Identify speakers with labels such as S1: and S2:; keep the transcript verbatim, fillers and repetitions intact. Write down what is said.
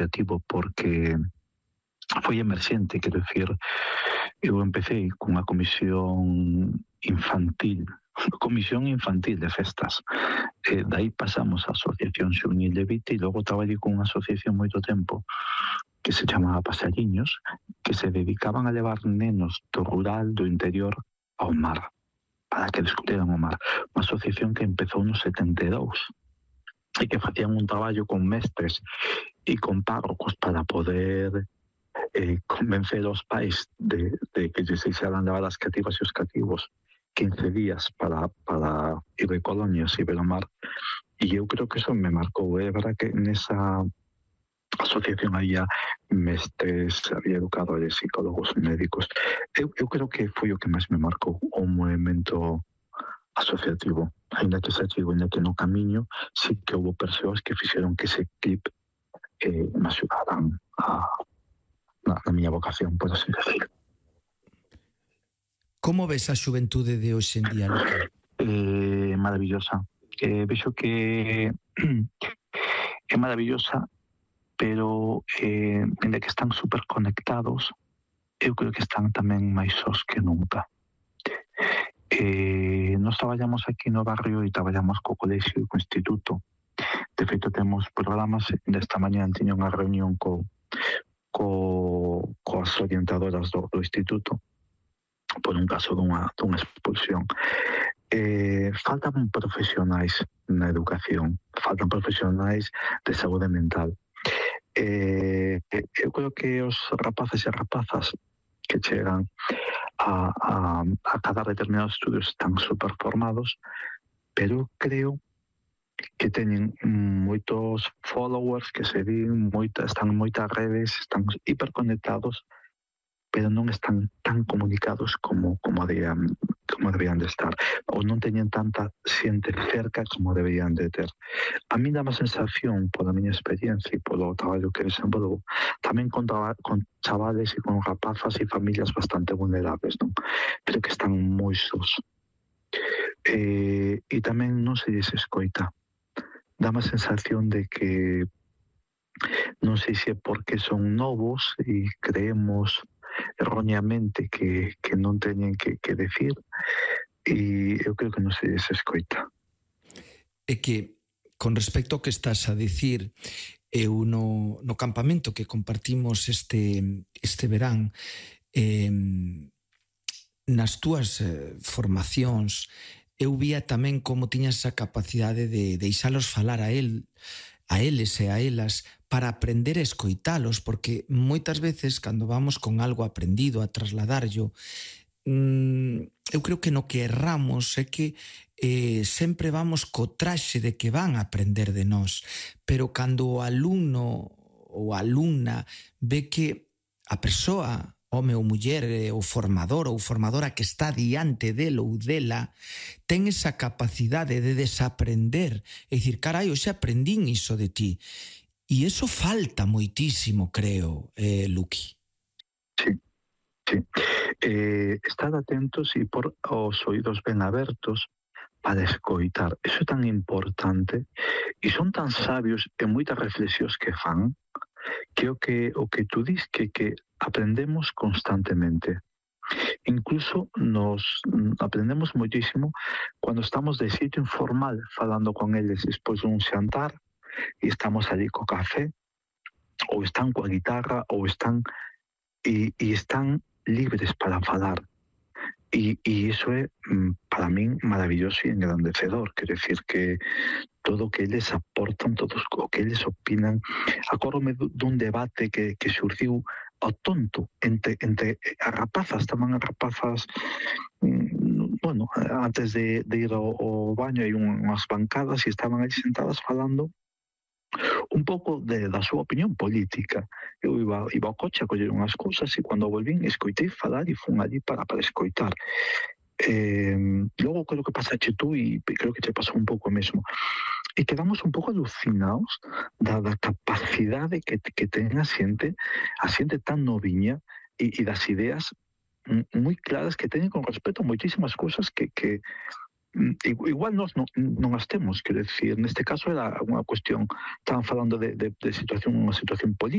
S1: asociativo porque foi emerxente, quero dicir, eu empecé cunha comisión infantil, comisión infantil de festas, e dai pasamos á Asociación Xuvenil de Vite e logo traballei cunha asociación moito tempo que se chamaba Pasariños, que se dedicaban a levar nenos do rural, do interior, ao mar, para que descubrieran o mar. Unha asociación que empezou no setenta e dous e que facían un traballo con mestres e con párrocos para poder eh, convencer aos pais de, de que lles deixaran levar as cativas e os cativos quince días para, para ir de colonias e ver o mar. E eu creo que eso me marcou. É verdad que nesa asociación había mestres, había educadores, psicólogos, médicos. Eu, eu creo que foi o que máis me marcou, o movimento asociativo. Ainda que xa chego, ainda que no camiño, sí que houve persoas que fixeron que ese clip eh, me axudaran a, na, na miña vocación, por así decir.
S2: Como ves a xuventude de hoxe en día, Luque?
S1: Eh, maravillosa. Eh, vexo que é maravillosa, pero eh, ainda que están super conectados, eu creo que están tamén máis sós que nunca. Eh, nos traballamos aquí no barrio e traballamos co colexio e co instituto. De feito, temos programas. Desta mañá tiña unha reunión co, co, coas orientadoras do, do instituto por un caso dunha, dunha expulsión. Eh, faltan profesionais na educación, faltan profesionais de saúde mental. Eh, eu creo que os rapaces e rapazas que chegan a, a, a cada determinados estudios están super formados, pero creo que teñen moitos followers que se din, moita, están en moitas redes, están hiperconectados, pero non están tan comunicados como, como, deberían, como deberían de estar, ou non teñen tanta xente cerca como deberían de ter. A mí dá má sensación, pola miña experiencia e polo traballo que desenvolvo, tamén con, con chavales e con rapazas e familias bastante vulnerables, non? Pero que están moi sós. Eh, e tamén non se lles escoita. Dá má sensación de que non sei se é porque son novos e creemos erróneamente que, que non teñen que, que decir, e eu creo que non se lles escoita.
S2: É que, con respecto ao que estás a dicir, eu no, no campamento que compartimos este, este verán, eh, nas túas eh, formacións, eu vía tamén como tiñas esa capacidade de deixalos falar a el, a eles e a elas, para aprender a escoitalos, porque moitas veces, cando vamos con algo aprendido a trasladarlo, mmm, eu creo que no que erramos é que eh, sempre vamos co traxe de que van a aprender de nós, pero cando o alumno ou a alumna ve que a persoa, home ou muller, o formador ou formadora que está diante del ou dela, ten esa capacidade de desaprender, é dicir, carai, eu xa aprendín iso de ti. E iso falta moitísimo, creo, eh, Luqui.
S1: Sí, sí. Eh, estar atentos e por os oídos ben abertos para escoitar. Iso é tan importante e son tan sabios en moitas reflexións que fan que o que, o que tú dis que, que aprendemos constantemente. Incluso nos aprendemos moitísimo cando estamos de sitio informal falando con eles despois dun xantar e estamos ali co café, ou están coa guitarra, ou están e, e están libres para falar. E, e iso é, para min, maravilloso e engrandecedor. Quero decir que todo o que eles aportan, todo o que eles opinan. Acórdome dun debate que, que surgiu ao tonto entre, entre as rapazas, tamén as rapazas, bueno, antes de, de ir ao, ao baño hai unhas bancadas e estaban ali sentadas falando un pouco de, da súa opinión política. Eu iba, iba ao coche a coller unhas cousas e cando volvín escoitei falar e fun allí para, para escoitar. Eh, logo creo que pasache tú e creo que te pasou un pouco mesmo. E quedamos un pouco alucinados da, da capacidade que, que ten a xente, a xente tan noviña e, e das ideas moi claras que teñen con respecto a moitísimas cousas que, que, igual nós non, non as temos, quero decir, neste caso era unha cuestión, estaban falando de, de, de situación, unha situación política,